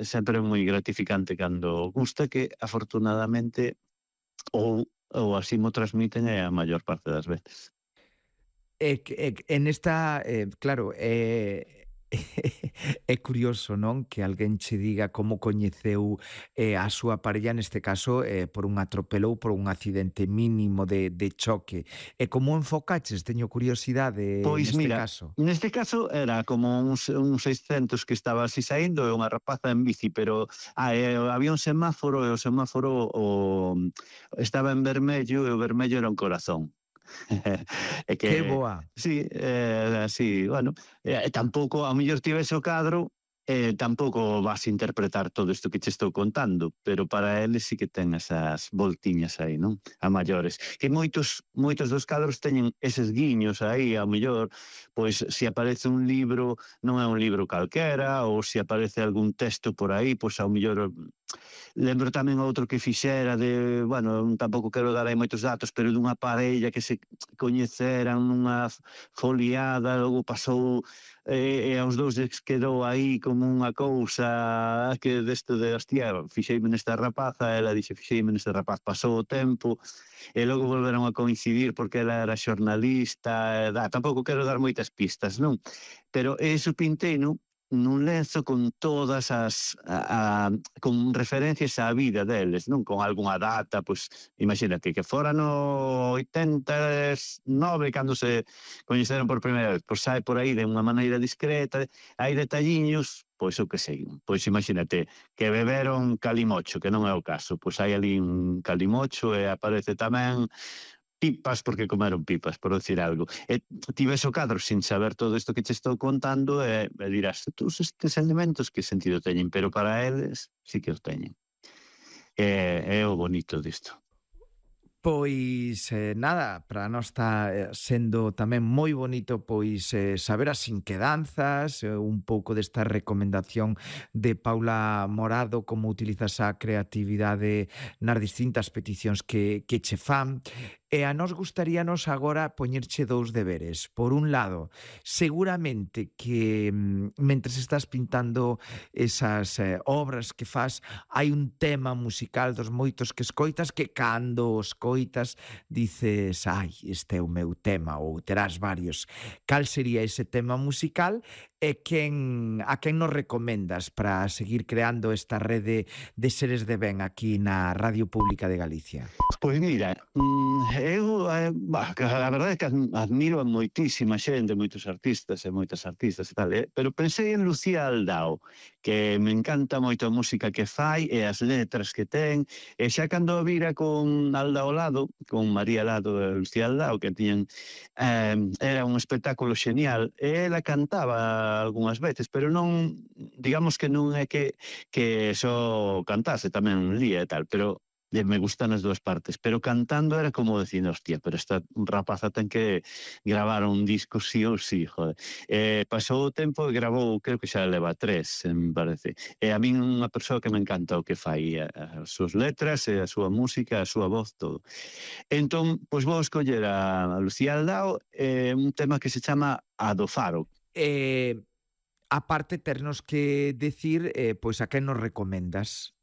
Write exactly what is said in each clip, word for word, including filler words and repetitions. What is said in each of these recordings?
sempre é moi gratificante cando gusta, que afortunadamente ou ou así mo transmiten é a maior parte das veces. É que é que en esta, eh, claro, é é curioso, non, que alguén che diga como coñeceu, eh, a súa parella, neste caso, eh, por un atropelo ou por un accidente mínimo de de choque. E como enfocaches? Teño curiosidade Pois neste mira, caso. neste caso era como uns uns seiscentos que estaba así saíndo e unha rapaza en bici, pero ah, e había un semáforo e o semáforo o estaba en vermello e o vermello era un corazón. É Que que boa. sí, eh, así, bueno, e tampouco ao mellor ti ves o cadro e tampouco vas interpretar todo isto que che estou contando, pero para eles sí que ten esas voltiñas aí, non? A maiores. Que moitos moitos dos cadros teñen eses guiños aí, ao mellor, pois se aparece un libro, non é un libro calquera, ou se aparece algún texto por aí, pois ao mellor lembro tamén outro que fixera de, bueno, tampouco quero dar aí moitos datos, pero dunha parella que se coñeceran nunha foliada, logo pasou e, e aos dous lles quedou aí como unha cousa que desto de, hostia, fixeime nesta rapaza, ela dixe, fixeime neste rapaz, pasou o tempo, e logo volveron a coincidir porque ela era xornalista, e, da, tampouco quero dar moitas pistas, non? Pero eso pinteino nun lenzo con todas as a, a con referencias á vida deles, non? Con algunha data, pois imagínate que fora no oitenta e nove cando se coñeceron por primeira vez, pois sai por aí de unha maneira discreta, hai detalliños, pois o que sei, pois imagínate que beberon calimocho, que non é o caso, pois hai ali un calimocho e aparece tamén pipas porque comeron pipas, por decir algo. E ti ves o cadro sin saber todo isto que che estou contando e, e dirás, todos estes elementos que sentido teñen, pero para eles sí que os teñen. É, é o bonito disto. Pois, eh, nada, para nós está eh, sendo tamén moi bonito pois eh, saber as inquedanzas, eh, un pouco desta recomendación de Paula Morado, como utilizas a creatividade nas distintas peticións que, que che fan. E a nós gustaríanos agora poñerche dous deberes. Por un lado, seguramente que mm, mentres estás pintando esas eh, obras que fas, hai un tema musical dos moitos que escoitas que cando os escoitas dices, ai, este é o meu tema, ou terás varios. Cal sería ese tema musical e quen, a quen nos recomendas para seguir creando esta rede de seres de ben aquí na Radio Pública de Galicia? Pois mira, mm, eu eh, bah, a verdade é que admiro a moitísima xente, moitos artistas e moitas artistas e tal, eh? Pero pensei en Lucía Aldao, que me encanta moito a música que fai e as letras que ten, e xa cando a vira con Aldao Lado, con María Lado e Lucía Aldao, que tiñan, eh, era un espectáculo xenial, e ela cantaba algunhas veces, pero non, digamos que non é que, que só cantase, tamén lía e tal, pero me gustan as dúas partes, pero cantando era como dicir, hostia, pero esta rapaza ten que gravar un disco sí ou sí, joder. Eh, pasou o tempo e gravou, creo que xa leva tres, me parece. E a min unha persoa que me encanta o que fai, as súas letras, e a súa música, a súa voz, todo. Entón, pois vou escoller a Lucía Aldao, eh, un tema que se chama A do Faro. Eh, aparte, ternos que decir, eh, pois a quen nos recomendas.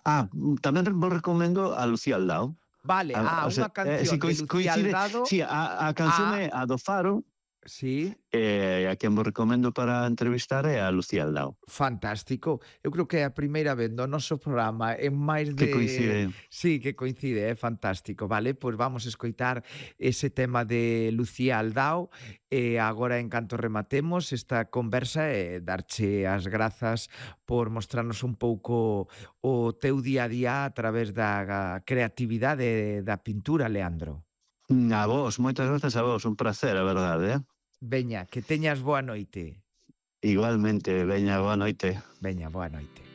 Ah, tamén vos recomendo a Lucía Aldao. Vale, A, ah, o sea, unha eh, si canción de Lucía coincide, Aldado. si, a, a canción a... é a do Faro, Sí. e a quen vos recomendo para entrevistar é a Lucía Aldao. Fantástico. Eu creo que é a primeira vez no noso programa en máis Que de... coincide. Sí, que coincide, é fantástico, vale? Pois vamos a escoitar ese tema de Lucía Aldao e agora en canto rematemos esta conversa e darche as grazas por mostrarnos un pouco o teu día a día a través da creatividade da pintura, Leandro. A vos, moitas grazas a vos, un placer, a verdade, eh? Veña, que teñas boa noite. Igualmente, veña, boa noite. Veña, boa noite.